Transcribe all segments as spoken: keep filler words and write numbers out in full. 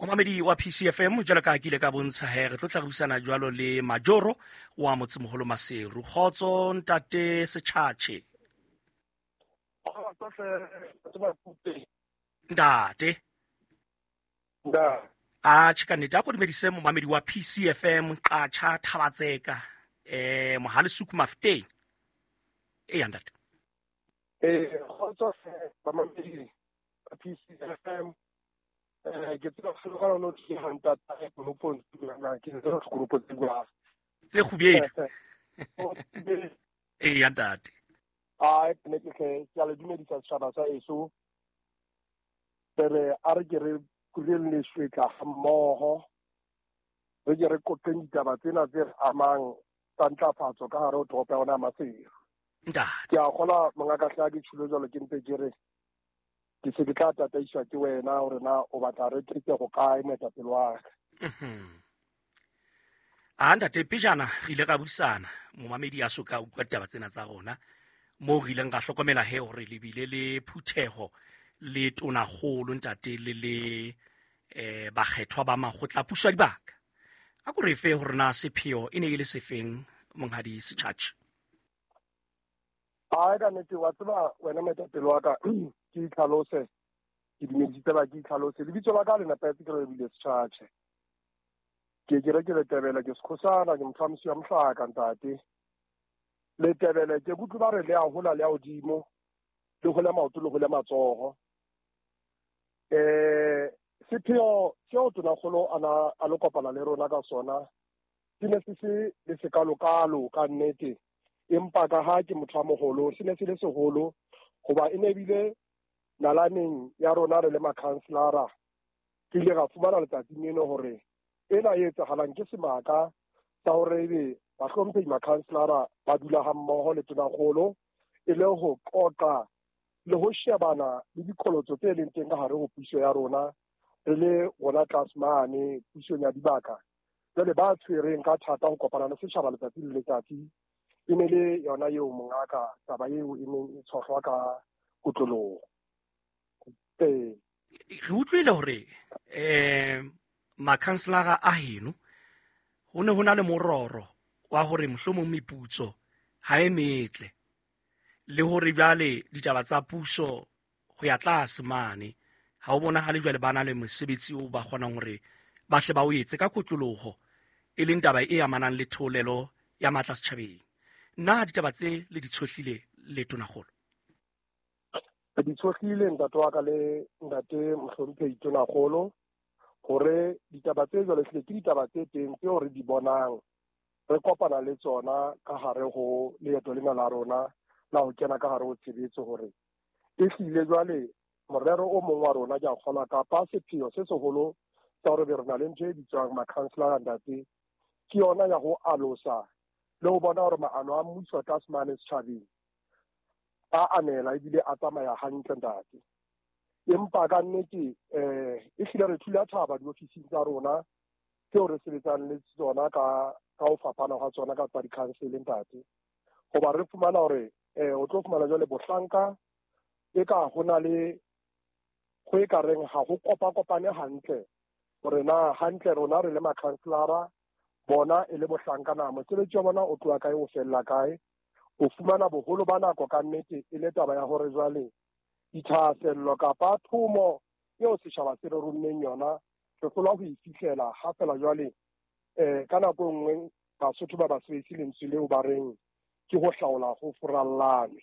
Momamedi wa P C F M, jwalo ka ha ke ile ka bontsha he, re tlo tla re buisana jwalo le Majoro wa Motsemoholo Maseru. Kgotso ntate Setjhatjhe. Ntate. Nda. A tjhe ka nnete, a ko dumedise momamedi wa P C F M, Qatjha Thabatseka, eh, Mohale Suku Mafteng. Eya ntate. Eh, kgotso bamamedi ba P C F M. Eh, ke tseba go ga no ke ha ntata e konopo na ke tseba go konopo tse bua. Tse kgubedu. Eya ntate. Ai, ne ke ke ke a le dumedisa setjhaba sa eso. Re a re ke re kureng le shwetla ha mmoho. Re ke re qoqeng ditaba tsena tse re amang tsa ntlafatso ka hare ho toropo ya rona ya Maseru. Ntate. Ke a kgolwa mongaka hle ha ke tjholo jwalo ke ntse ke re ke se ke tla tataiswa ke wena hore na o batla re tlise go kae moetapele wa ka. Mhm. A ntate, pejana re ile ra buisana, momamedi a so ka utlwa ditaba tsena tsa rona, moo re ileng ra hlokomela he hore le bile le phutheho le tonakgolo ntate le le, eh, bakgethwa ba makgotla a puso ya dibaka. A ko re fe hore na sepheo e ne e le sefeng, monghadi Setjhatjhe? Ai, ka nnete, wa tseba wena moetapele wa ka, ke itlhalose, ke dumedisitse ba ke itlhalose. Lebitso la ka le nepahetse ke Relebohile Setjhatjhe. Ke ke re ke Letebele, ke Sekhosana, ke motho wa Mosiwa Mohlaka ntate. Letebele ke kutlwe ba re le a hola le a hodimo, le hole maoto le hole matsoho. Eh, sepheo seo tonakgolo a na a lo kopana le rona ka sona se ne se se le sekalokalo ka nnete, empa ka ha ke motho a moholo se ne se le seholo hoba e ne bile nalaneng ya rona re le makhanselara. Re ile ra fumana letsatsing leno hore ena e etsahalang ke semaka sa hore ebe bahlomphehi makhanselara ba dula ha mmoho le tonakgolo e le ho qoqa le ho shebana le diqholotso tse leng teng ka hare ho puso ya rona re le rona tlase mane pusong ya dibaka. Jwale ba tshwereng ka thata ho kopana le setjhaba letsatsi le letsatsi e ne le yona eo mongaka taba eo e neng e tshohlwa ka kotloloho. Ee. Re utlwile hore, eh, makhanselara a heno ho ne ho na le mororo wa hore mohlomong meputso ha e metle, le hore jwale ditaba tsa puso ho ya tlase mane ha o bonahale jwale ba na le mosebetsi o ba kgonang hore ba hle ba o etse ka kotloloho, e leng taba e amanang le theolelo ya matla setjhabeng. Na ditaba tse le di tshohlile le tonakgolo? Re di tshohlile ntate wa ka le ntate mohlomphehi tonakgolo hore ditaba tse jwalo ehlile ke ditaba tse teng tseo re di bonang re kopana le tsona ka hare ho leeto lena la rona la ho kena ka hare ho tshebetso, hore ehlile jwale morero o mong wa rona ke a kgolwa kapa sepheo se seholo sa hore be re na le ntho e bitswang makhanselara ntate, ke yona ya ho alosa le ho bona hore maano a mmuso tlase mane setjhabeng a anela ebile a tsamaya hantle ntate. Empa ka nnete, eh, ehlile re thula thaba diofising tsa rona tseo re sebetsang le tsona ka, ka ho fapana hwa tsona ka tsa di-council ntate, hoba re fumana hore, eh, o tlo fumana jwale bohlanka e ka ho na le ho e ka reng ha ho kopa-kopane hantle hore na hantle rona re le makhanselara bona e le bohlanka na mosebetsi wa bona o tloha kae o fella kae. O fumana boholo ba nako ka nnete e le taba ya hore jwale dithahasello kapa thomo eo setjhaba se re rommeng yona re hlolwa ho e fihlela ha fela jwale, eh, ka nako e nngwe Basotho ba ba sebedise lentswe leo ba reng ke ho hlaola ho furallane.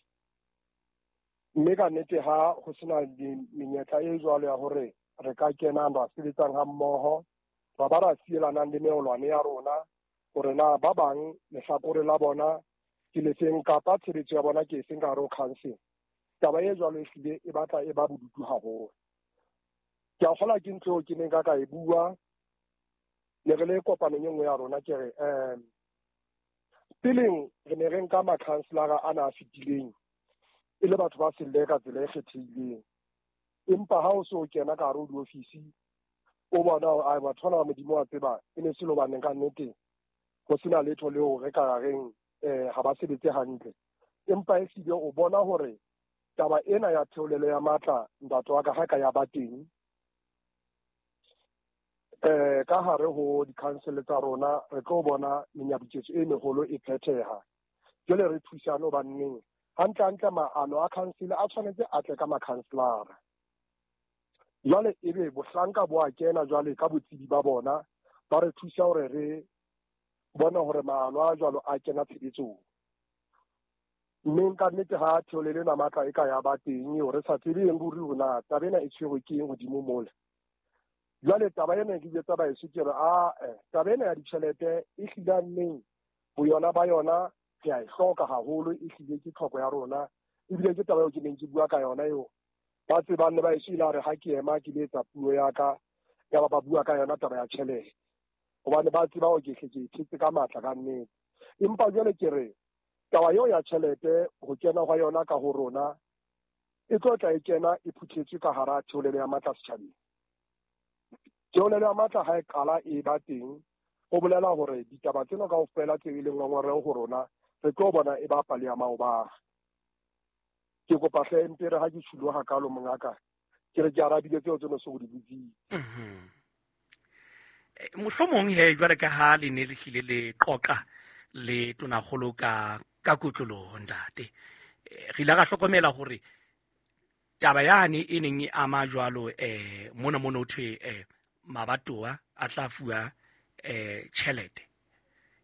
Mme ka nnete ha ho sena menyetla e jwalo ya hore re ka kenang ra sebetsang ha mmoho, ra ba ra sielanang le meolwane ya rona hore na ba bang lehlakore la bona ke le feng kapa tshebetso ya bona ke e feng ka hare ho council. Taba e jwalo ehlile e batla e ba bodutu haholo. Ke a kgolwa ke ntho eo ke neng ka ka e bua ne re le kopanong e nngwe ya rona, ke re, eh, peleng re ne re nka makhanselara ana a fetileng e le batho ba selle ka tsela e kgethehileng, empa ha o so kena ka hare ho diofisi o bona hore, ai, batho bana ba Modimo wa tseba e ne se le hobaneng ka nnete ho sena letho leo re ka reng, eh, ha ba sebetse hantle. Empa ehlile o bona hore taba ena ya theolelo ya matla ntate wa ka ha ka ya ba teng, Eh ka hare ho di-council tsa rona re tlo bona menyabuketso e meholo e phetheha. Jwale re thusane hobanneng hantle hantle maano a council a tshwanetse a tle ka makhanselara. Jwale ebe bohlanka bo a kena jwale ka botsebi ba bona ba re thusa hore re bone hore maano a jwalo a kena tshebetsong. Mme nka nnete ha theolelo ena matla e ka ya ba teng eo re sa tsebeng ruri hore na taba ena e tshwerwe ke eng hodimo mole. Jwale taba ena ke jwetsa baheso ke re ah-eh, taba ena ya ditjhelete e hlile nneng boyona ba yona re a e hloka haholo, e hlile ke tlhoko ya rona, ebile ke taba eo ke neng ke bua ka yona eo. Ba tsebang le baheso ile re ha ke ema ke le etsa puo ya ka, ya ba ba bua ka yona taba ya tjhelete. Hobane ba tseba hore ke hle ke e thetse ka matla ka nnete. Empa jwale ke re taba eo ya tjhelete ho kena hwa yona ka ho rona e tlo tla e kena e phuthetswe ka hara theolelo ya matla setjhabeng. Theolelo ya matla ha e qala e ba teng, ho bolela hore ditaba tsena kaofela tse e leng ngongoreho ho rona re tlo bona e ba pale ya maobane. Ke kopa hle mpe re ha ke tjhulo hakalo mongaka, ke re ke arabile tseo tse no so di botsitse. Mhm. Mohlomong he jwale ka ha le ne le hlile le qoqa le tonakgolo ka ka kotloloho ntate, re ile ra hlokomela hore taba yane e neng e ama jwalo eh mona mona ho thwe eh mabatowa a tla fuwa eh tjhelete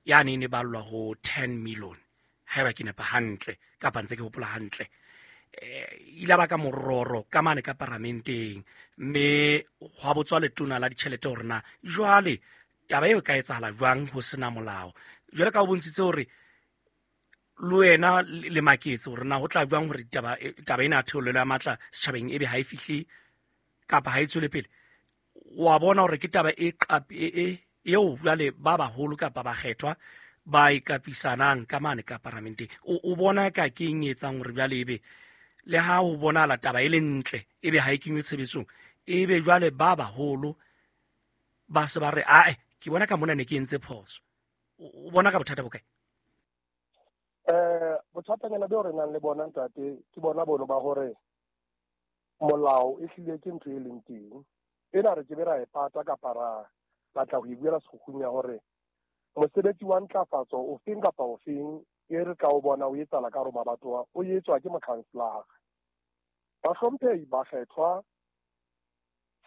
yane e ne ballwa ho ten million haeba ke nepa hantle kapa ntse ke hopola hantle. Eh ile ba ka mororo ka mane ka paramenteng, mme hwa botswa letona la ditjhelete hore na jwale taba eo e ka etsahala jwang ho sena molao. Jwale ka o bontshitse hore le wena le maketse hore na ho tla jwang hore taba taba ena ya theolelo ya matla setjhabeng ebe ha e fihle kapa ha e tswele pele. Wa bona hore ke taba e qapi e e eo jwale ba baholo kapa bakgethwa ba ikapisanang ka mane ka paramenteng. O, o bona ka ke eng e etsang hore jwale ebe le ha ho bonahala taba e le ntle ebe ha e kenywe tshebetsong, ebe jwale ba baholo ba se ba re ae ke bona ka mona ne ke entse phoso. O bona ka bothata bo kae? Eh bothatanyana beo re nang le bona ntate ke bona bono ba hore molao e hlile ke ntho e leng teng. Ena re ke be ra e pata kapa ra batla ho e buela sekgukgung ya hore mosebetsi wa ntlafatso o feng kapa o feng e re tla o bona o etsahala ka hare ho mabatowa o etswa ke mokhanselara. Bahlomphehi ba kgethwa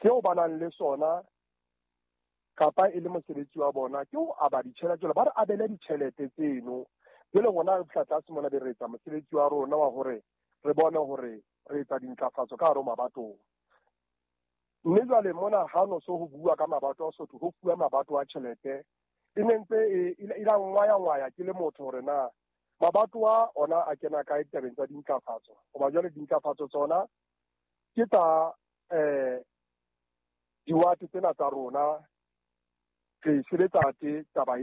seo ba nang le sona kapa e le mosebetsi wa bona ke ho aba ditjhelete, jwale ba re abele ditjhelete tseno. Jwale rona re fihla tlase mona be re etsa mosebetsi wa rona wa hore re bone hore re etsa dintlafatso ka hare ho mabatowa. Mme jwale mona ha no so ho bua ka mabato a Sotho, ho fuwa mabato a tjhelete e ne ntse e e la ngwaya-ngwaya ke le motho hore na mabato a ona a kena kae ditabeng tsa dintlafatso. Hoba jwale dintlafatso tsona ke tsa eh diwate tsena tsa rona, re sebetsa te taba